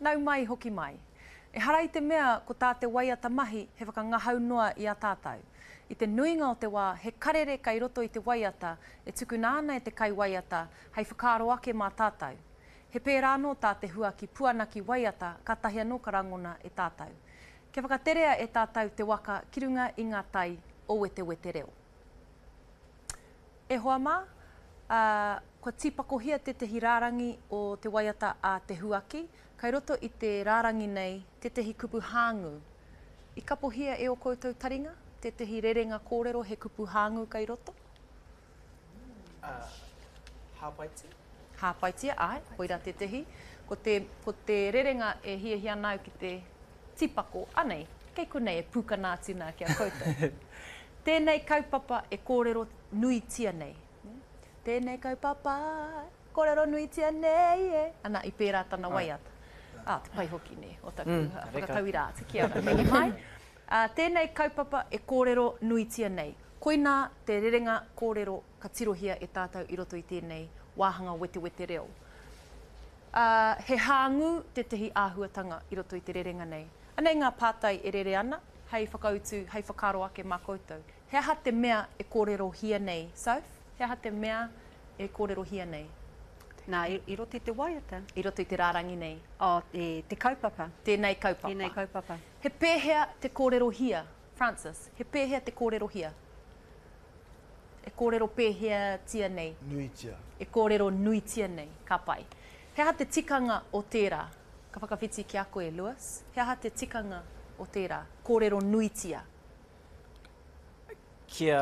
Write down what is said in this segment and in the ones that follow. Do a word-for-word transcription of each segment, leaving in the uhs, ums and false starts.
Nau mai, hoki mai. Ehara i te mea ko tā te waiata mahi he whakangahau noa i a tātou. I te nuinga o te wā he karere kei roto i te waiata e tukuna ana e te kaiwaiata hei whakaaro ake mā tātou. He pērā anō tā te huaki puanaki waiata kātahi anō ka rangona e tātou. Kia whakaterea e tātou te waka ki runga i ngā tai o Wetewetereo. E hoa mā, ā, kua tīpakohia tētehi rārangi o te waiata a Te Huaki, kai roto i te rārangi nei tētehi kupu hāngū. I kapohia e ō koutou taringa tētehi rerenga kōrero he kupu hāngū kai roto? Ā, hāpaitia? Hāpaitia, āe, koirā tētehi. Ko te, ko te rerenga e hiahia ana au ki te tīpako, anei, kei konei e pūkana atu nā ki a koutou. Tēnei kaupapa e kōrero nuitia nei. Tēnei kaupapa e kōrero nuitia nei e. Ana, i pērā tana waiata. Ā, te pai hoki, nē, o taku whakatauira atu. Kia ora, mihi mai. Ā, tēnei kaupapa e kōrero nuitia nei. Koinā te rerenga kōrero ka tirohia e tātou i roto i tēnei wāhanga wetewete reo. Ā, he hāngū tētehi āhuatanga i roto i te rerenga nei. Anei ngā pātai e rere ana, hei whakautu, hei whakaaro ake mā koutou. He aha te mea e kōrerohia nei, Soph? He aha te mea e kōrerohia nei? Nā, i roto i te waiata. I roto i te rārangi nei. Oh, te, te kaupapa. Tēnei kaupapa. Tēnei kaupapa. He pēhea te kōrerohia, Francis? He pēhea te kōrerohia? E kōrero pēheatia nei? Nuitia. E kōrero nuitia nei. Ka pai. He aha te tikanga o tērā? Ka whakawhiti ki a koe, Lewis. He aha te tikanga o tērā? Kōrero nuitia. Kia,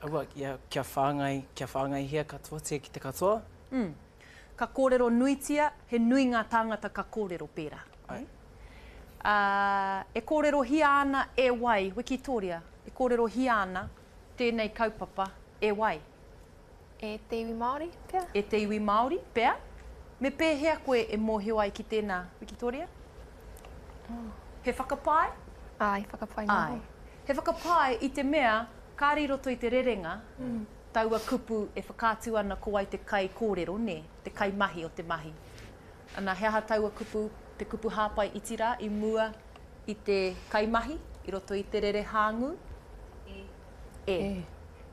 aua, kia, kia whāngai, kia whāngaihia katoatia ki te katoa. Mm. Ka kōrero nuitia, he nui ngā tāngata ka kōrero pērā. Ai. Ā, e kōrerohia ana e wai, Wikitōria, e kōrerohia ana tēnei kaupapa e wai? E te iwi Māori, pea. E te iwi Māori, pea. Me pēhea koe e mōhio ai ki tēnā, Wikitoria? He whakapae? Āe, whakapae noa. Āe. He whakapae i te mea kāre i roto i te rerenga taua kupu e whakaatu ana ko wai te kaikōrero, nē, te kaimahi o te mahi. Ana, he aha taua kupu, te kupu hāpai iti rā i mua i te kaimahi, i roto i te rere hāngū? E. E.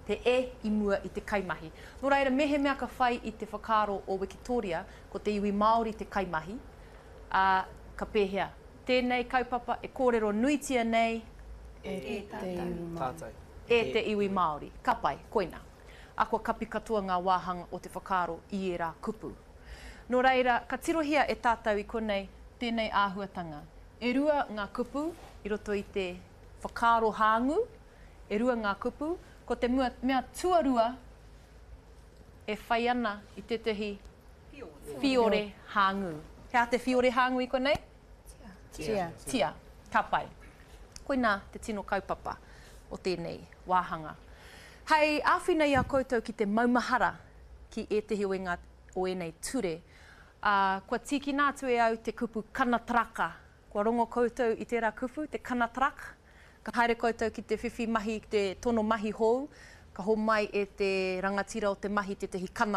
Te e i mua i te kaimahi. Nō reira, mehemea ka whai i te whakaaro o Wikitōria, ko te iwi Māori te kaimahi, ā, ka pēhea? Tēnei kaupapa e kōrero nuitia nei E te iwi Māori. E te iwi Māori. Ka pai, koina. A kua kapi katoa ngā wāhanga o te whakaaro i ērā kupu. Nō reira, ka tirohia e tātou i konei tēnei āhuatanga. E rua ngā kupu i roto i te whakaaro hāngū, e rua ngā kupu, ko te mea tuarua e whai ana i tētahi whiore hāngū. He aha te whiore hāngū i konei? Tia. Tia. Ka pai. Koinā te tino kaupapa o tēnei wāhanga. Hei āwhina i a koutou ki te maumahara ki ētehi o ngā, o ēnei ture, ā, kua tīkina atu e au te kupu kanataraka. Kua rongo koutou i tērā kupu, te kanatarak? Ka haere koutou ki te whiwhi mahi, te tono mahi hou, ka homai e te rangatira o te mahi tētehi kana